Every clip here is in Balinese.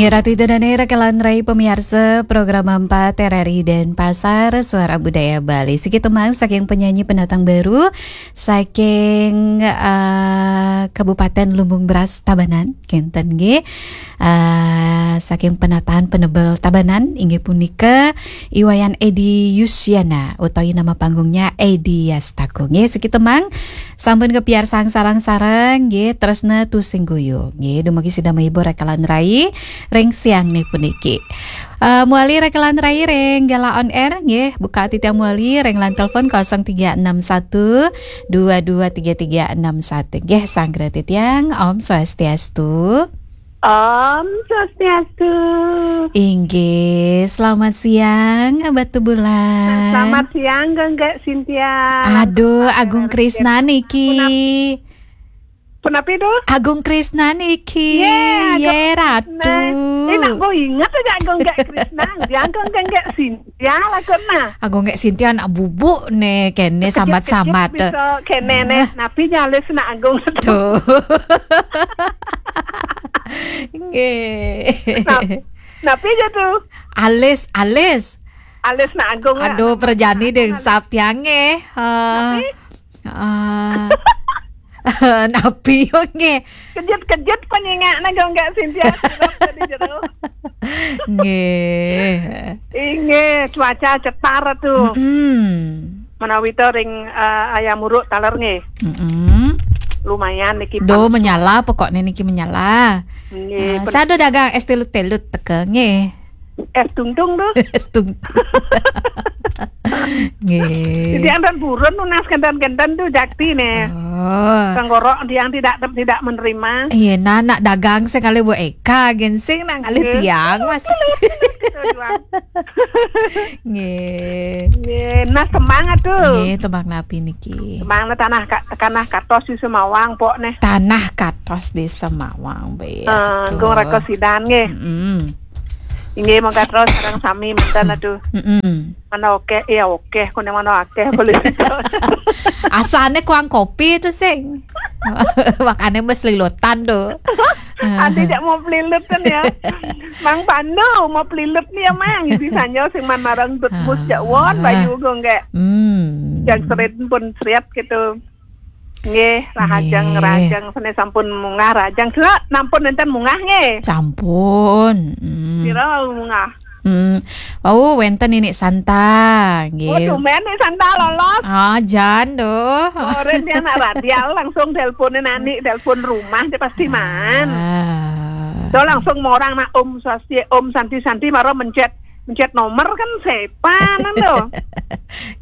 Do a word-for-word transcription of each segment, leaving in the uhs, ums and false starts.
Ya, Ratu Ida dan Era, kalian rai pemirsa program empat R R I Denpasar, Suara Budaya Bali. Siki tembang saking penyanyi pendatang baru, saking, eh, Kabupaten Lumbung Beras, Tabanan, kenten nggih. Eh, saking penataan penebel Tabanan, inggih punika Iwayan Edi Yusiana, utawi nama panggungnya Edi Yastako. Nggih, siki tembang sampun kepiarsang sareng-sareng, nggih, Tresna Tusing Guyu. Nggih, dumugi sida menghibur kalian rai ring siang nih puniki. Eh, muali rekelan rai ring Gala On Air, nggih, buka titiang muali ring line telepon kosong tiga enam satu dua dua tiga tiga enam satu. Nggih, sanggra titiang, Om Swastiastu. Om Swastiastu. Inggih, selamat siang, Batu Bulan. Selamat siang, Genggek Cynthia. Aduh, Agung Krisna niki. Punapi tuh? Agung Krisna niki. Ye, Agung Ye, Ratu. Krisna. Eh, nak kok inget aja Agung Genggek Krisna. Dia Agung Genggek Cynthia lah kok nah. Agung Genggek Cynthia anak bubuk nih, kene sambat-sambat. Bisa kene nih, napi nyalis nak Agung. Tuh. Nggih. Nah, napi aja tuh? Alis, alis. Alis nak Agung ya. Aduh, perjani deh, sap tiange. Heeh. Napi? Heeh. Napi yo nggih? Kejut-kejut penyingak nak Agung Genggek Cynthia sirup tadi jero. Nggih. Inggih, cuaca cetar tuh. Mm-mm. Menawi to ring, eh, ayam uruk taler nggih. Mm-mm. Lumayan niki. Do panas. Menyala, pokoknya niki menyala. Nggih. Ah, sado dagang es telut-telut teka nggih. Es tungtung tuh. Es tungtung. Nggih. Jadi antan burun nunas kenten-kenten tuh jakti nih. Oh. Tenggorok yang tidak tidak menerima. Iya, nah, nak dagang sekali Bu Eka, gensing nak ngalih tiang, Mas. Gitu doang. Nggih. Nggih, nah, semangat tuh. Nggih, tembang napi niki? Tembang tanah ka-, tanah katos di Semawang, pok nih. Tanah katos di Semawang, betul. Eh, Gung Rako Sidan nggih. Mm-mm. Inggih, monggo terus sareng sami manten aduh. Mm-mm. Mana oke, ya oke, kone mana akeh boleh. Asane kuang kopi tuh sing. Makane mes lilutan tuh. Ati cak mau pelilut kan ya. Mang Pandu mau pelilut nih ya, Mang. Bisa nyo sing man marang dut mus cak won bayu gue nggak. Hmm. Yang seret pun seriat gitu. Nggih, rahajeng, nggih. Rahajeng sene sampun mungah rahajeng. Kula nampun nenten mungah nggih. Sampun. Hmm. Pira mungah? Hmm. Oh, wenten ini Santa, nggih. Oh, tumben nih Santa lolos. Ah, jan doh. Oren dia anak radial langsung teleponin anik, telepon rumah dia pasti man. Ah. Do langsung morang nak Om Swasti, Om Santi Santi maro mencet mencet nomor kan sepanan to.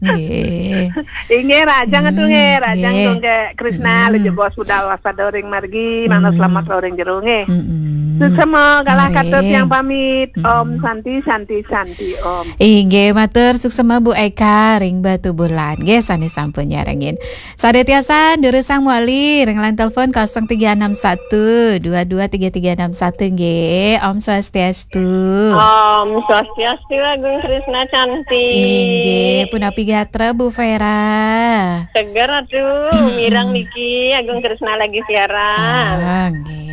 Nggih. Inggih, rahajeng atuh nggih, rahajeng nggih. Gung Genggek Krisna, hmm. Lho jebos budal waspada ring margi, manut hmm. Selamat ring jero nggih. Hmm. Suksema galah katut yang pamit. Hmm. Om Santi, Santi, Santi, Om. Inggih, matur suksema Bu Eka ring Batu Bulan. Nggih, sane sampun nyarengin. Sadatiasan durusang muali ring line telepon kosong tiga enam satu dua dua tiga tiga enam satu nggih. Om Swastiastu. Om Swastiastu, Agung Krisna cantik. Inggih, punapi gatra Bu Vera? Seger atuh, mireng niki Agung Krisna lagi siaran. Ah, nggih.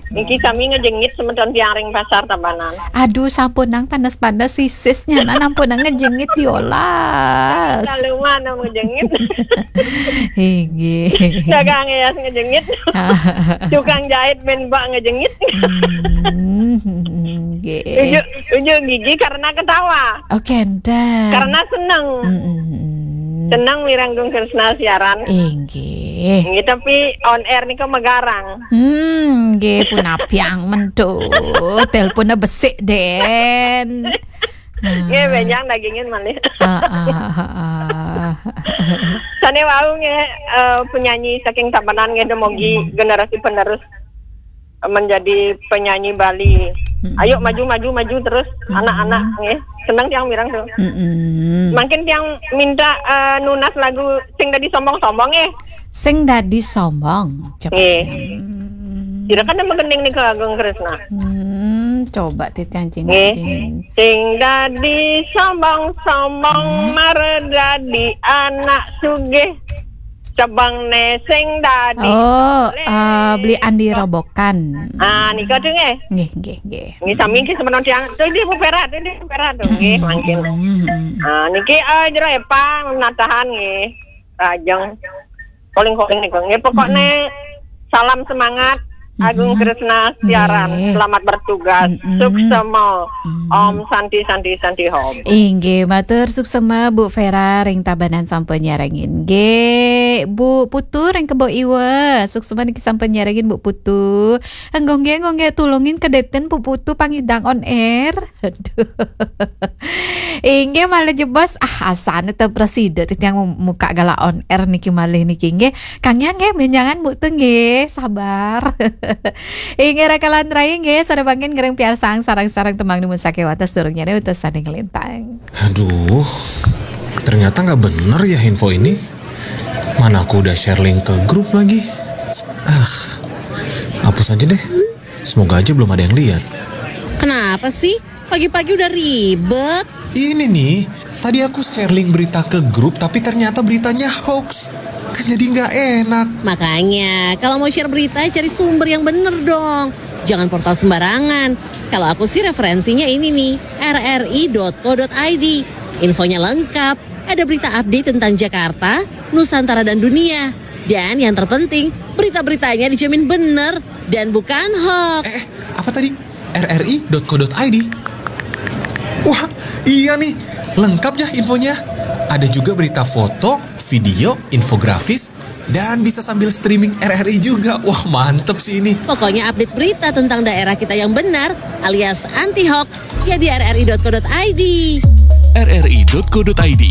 Niki kami ngejengit semeton tiang ring pasar Tabanan. Aduh, sampun nang panas-panas sisisnya, nah, sampun nang ngejengit diolas. Lalu mana mau jengit? Inggih. Dagang es ngejengit. Tukang jahit men bak ngejengit. Hmm, nggih. Ujuk, ujuk gigi karena ketawa. Oh, kenten. Karena seneng. Mm-mm. Seneng mireng Gung Krisna siaran. Inggih. Nggih, tapi on air nika megarang. Hmm, nggih, punapiang mentu. Teleponnya besik, Den. Nggih, benjang dagingin malih. Heeh, heeh. Sane wau nggih, eh, penyanyi saking Tabanan nggih, dumugi hmm. Generasi penerus menjadi penyanyi Bali. Hmm. Ayo maju, maju, maju terus, hmm. Anak-anak nggih. Seneng tiang mireng tuh. Hmm. Mangkin tiang minta, eh, nunas lagu Sing Dadi Sombong-Sombong nggih. Sing Dadi Sombong. Coba. Nggih. Hmm. Kira kan nama gending nih ke Agung Krisna. Hmm, coba titiang cing. Nggih. Sing dadi sombong-sombong, hmm. Mara dadi anak sugih. Cebeng ne sing dadi. Oh, eh, beli Andi Robokan. Ah, nika tuh nggih. Nggih, nggih, nggih. Nggih sami nggih semeton tiang. Tuh dia Bu Vera, tuh dia Bu Vera tuh nggih mangkin. Hmm. Ah, niki eh jero Epa natahan nggih. Rajeng. Calling-calling niku. Nggih pokoknya salam semangat. Agung Kresna siaran. Nggih. Selamat bertugas. Mm-mm. Suksema. Mm. Om Santi Santi Santi Hom. Inggih, matur suksema Bu Vera ring Tabanan sampun nyarengin. Nggih, Bu Putu ring Kebo Iwa. Suksema niki sampun nyarengin Bu Putu. Nggih, nggih, nggih, tulungin kedeten Bu Putu pangidang on air. Aduh. Inggih malah jebos ah asane te preside titiang muka gala on air niki malih niki nggih. Kang Yang nggih menjangan Bu Putu nggih, sabar. Inggih rakalan rai nggih, sada bangkin ngereng piarsang sarang-sarang tembang dumun sakewates durung nyane utus sane ngelintang. Aduh, ternyata nggak bener ya info ini. Mana aku udah share link ke grup lagi. Ah, hapus aja deh. Semoga aja belum ada yang lihat. Kenapa sih? Pagi-pagi udah ribet. Ini nih, tadi aku share link berita ke grup tapi ternyata beritanya hoax. Kan jadi nggak enak. Makanya, kalau mau share berita, cari sumber yang bener dong. Jangan portal sembarangan. Kalau aku sih referensinya ini nih, rri.co.id. Infonya lengkap, ada berita update tentang Jakarta, Nusantara dan dunia. Dan yang terpenting, berita-beritanya dijamin bener dan bukan hoax. Eh, apa tadi? rri.co.id. Wah, iya nih. Lengkap ya infonya. Ada juga berita foto, video, infografis, dan bisa sambil streaming R R I juga. Wah, mantep sih ini. Pokoknya update berita tentang daerah kita yang benar alias anti hoax ya di rri.co.id. rri.co.id.